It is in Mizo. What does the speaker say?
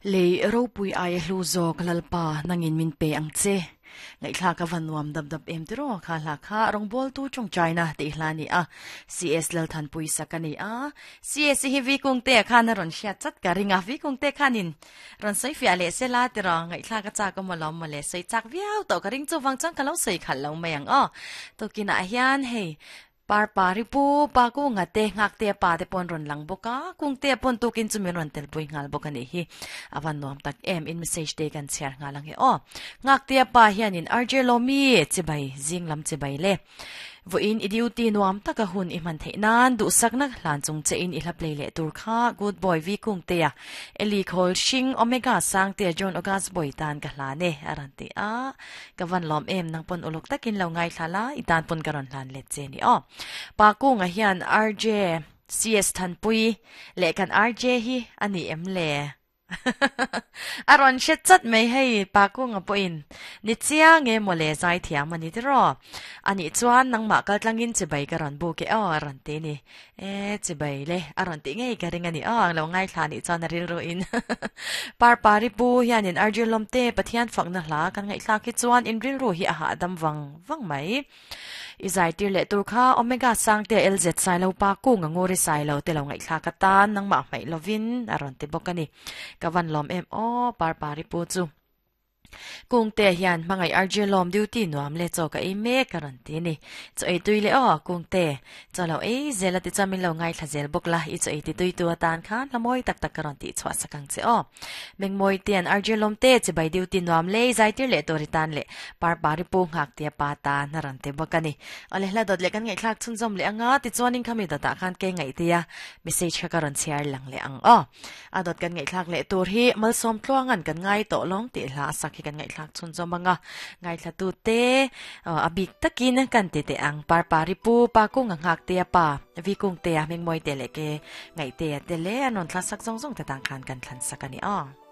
Lei ropui aia hlu zawk Lalpa nangin min pe ang che. Ngaihthlak a va nuam dap dap em tiraw kha hla kha rawngbawltu tawngtaina tih hla a ni a, CS Lalthanpui sak a ni a. CS hi Vi Kungte khan a rawn hriat chat ka ring a, Vi Kungte khanin rawn sawi fiah leh se la tiraw ngaihthlak a chak awm alawm mawle, sawi chak viau tawh ka ring chuvang chuan ka lo sawi khalh lo mai ang aw. Tukinah hian hei Par pa ri pu pa kunga te nghak te pa te pawn rawn lang bawk a, kung te pawn tukin chu min rawn tel pui nghal bawk a nih hi. A van nuam tak em, in message te kan chhiar nghal ang e aw. Nghak te pa hianin RJ Lawmi chibai zing lam chibai le. Vawiin i duty nuam taka hun i hman theih nan duhsakna hlan chung che in i hla play leh tur kha Good Boy V Kungtea, Eli Khawl Hring, Omega Sangtea John August Boy tan ka hlan e a rawn ti a. Ka van lawm em, nang pawn uluk takin lo ngaithla la, i tan pawn ka rawn hlan let che ni aw. Pa Kunga hian RJ CS Thanpui leh kan RJ hi a ni em le? A rawn hre chat mai hei, Pa Kunga pawhin ni chiang e mawle zaithiam a ni tiraw? Anih chuan nangmah kaltlangin chibai ka rawn buk e aw a rawn ti ni. E, chibai le, a rawn tih ngei ka ring a ni. Aw, lo ngaithla nih chuan a rilru in. Parpari pu hianin Arjun Lawmte Pathian fakna hla kan ngaihthlak hi chuan in rilru hi a hahdam vang vang mai. I zai tir leh tur kha Omega Sangte LZ Sailo pa kung a nguri Sailo te lo ngaihthlak atan nangmah hmaih lovin a rawn ti bawk a ni. Ka van lawm em aw Parpari pu chu. Kungte hian hmangaih RJ lawm duty nuam le chaw ka ei mek a rawn ti a ni. Chaw ei tui le aw Kungte, chaw lo ei zel a ti chuan min lo ngaithla zel bawk la, i chaw ei ti tui tu atan khan hla mawi tak tak ka rawn tih chhuah sak ang che aw. Mengmawi te an RJ lawm te chibai duty nuam le i zaitir leh tur i tan leh Parpari pu nghak tia pa tan a rawn ti bawk a ni. Awle hla dawt leh kan ngaihthlak chhunzawm leh anga tichuanin khami dawtah khan ke ngaihtia message kha ka rawn chhiar lang leh ang aw. A dawt kan ngaihthlak leh tur hi Malsawm Tluanga'n kan ngai tawh lawng tih hla a sak hi kan ngaihthlak chhunzawm ang a. Ngaithlatute a bik takin kan ti teh ang. Parpari pu, Pa Kunga Nghaktea pa, Vi Kungtea, Hmingmawite leh Ke Ngaihtea te leh an rawn thla sak zawng zawng te tang khan kan thlan sak a ni aw.